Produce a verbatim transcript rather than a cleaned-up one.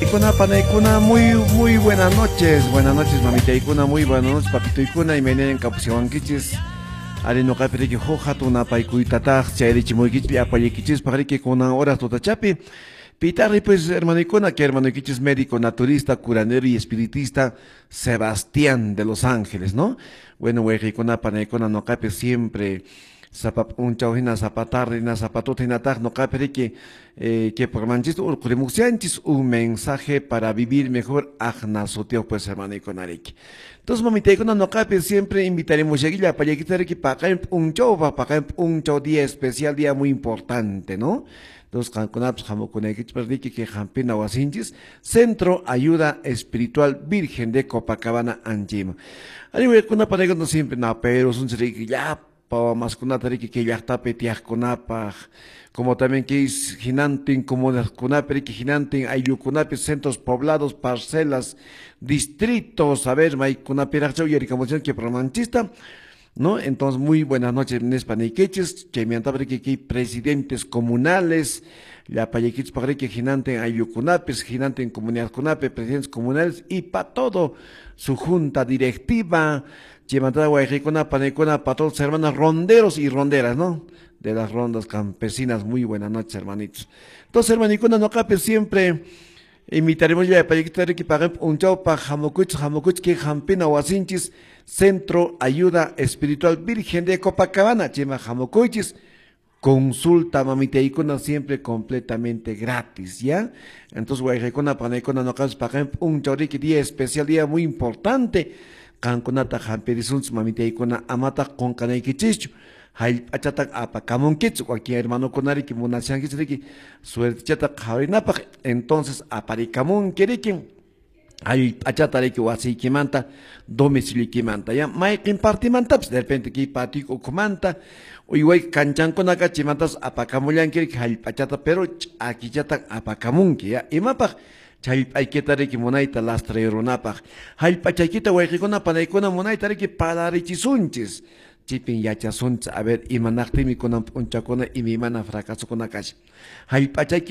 Ikuna panaykuna, muy muy buenas noches, buenas noches mamitaykuna, muy buenas noches papitoykuna, imaynayan kapusiwankichis. Ari noqapi riki huk hatun napaykuytataq chayrichimuykichis llapallaykichispaq riki kunan horas tutachapi. Pitarri pues hermanoykuna, que hermanoykichis médico naturista, curandero y espiritista Sebastián de Los Ángeles, ¿no? Bueno, wayqiykuna panaykuna noqapi siempre sapa p'unchaw hina sapa tarde hina sapa tuta hinataq noqapi riki eh, que programanchis urqurimuqsianchis un mensaje para vivir mejor aqna sutiyuq pues hermanoykuna riki. Entonces mamitaykuna noqapi siempre invitaremos llapallaykita riki paqarin p'unchawpaq paqarin p'unchaw día especial, día muy importante, ¿no? Entonces qankunapas hamukunaykichis riki que hampina wasinchis Centro Ayuda Espiritual Virgen de Copacabana Anchima. Ari waykuna panaykuna siempre pero sunchis riki llapa maskunata riki kay llaqtapi tiyaqkunapaq, como también que es hinantin comunidadkunapi riki hinantin ayllukunapi centros poblados, parcelas, distritos, a ver maykunapiraqcha uyarikamuchan que programanchista, ¿no? Entonces, muy buenas noches, nispa niykichis, chaymanta riki kay presidentes comunales, llapallaykichis riki hinantin ayllukunapis, hinantin comunidadkunapi, presidentes comunales y pa todo su junta directiva, chaymanta wayqiykuna panaykuna pa todos hermanos ronderos y ronderas, ¿no? De las rondas campesinas, muy buenas noches, hermanitos. Entonces, hermanikuna, noqapi siempre invitaremos ya para que paguen un chau pa hamukuch, hamukuch que hampina wasinchis, Centro Ayuda Espiritual Virgen de Copacabana, chayman hamukuychis, consulta mamitaykuna siempre completamente gratis, ¿ya? Entonces, wayqiykuna panaykuna noqapas paqarin p'unchaw riki día especial, día muy importante, qankunata hampirisunchis mamitaykuna amataq qunqanaykichischu, hallp'achata apakamunkichis, wakin hermanokuna riki munashankichis riki suertichata qhawarinapaq, entonces aparikamunki riki hallp'achata riki wasiykimanta domicilioykimanta, ya mayqin partimantapis de repente kay patio ukhumanta uyway kanchankunaka chaymantas apakamullanki riki hallp'achata pero ch'akichata apakamunki, ya imapaq hallp'aykita riki munayta lastrayurunapaq hallp'achaykita wayqiykuna panaykuna munayta riki palarichisunchis chaypin yachasunchis a ver imanaqtinmi kunan p'unchakuna imaymana fracasokuna kashan hallp'achayki.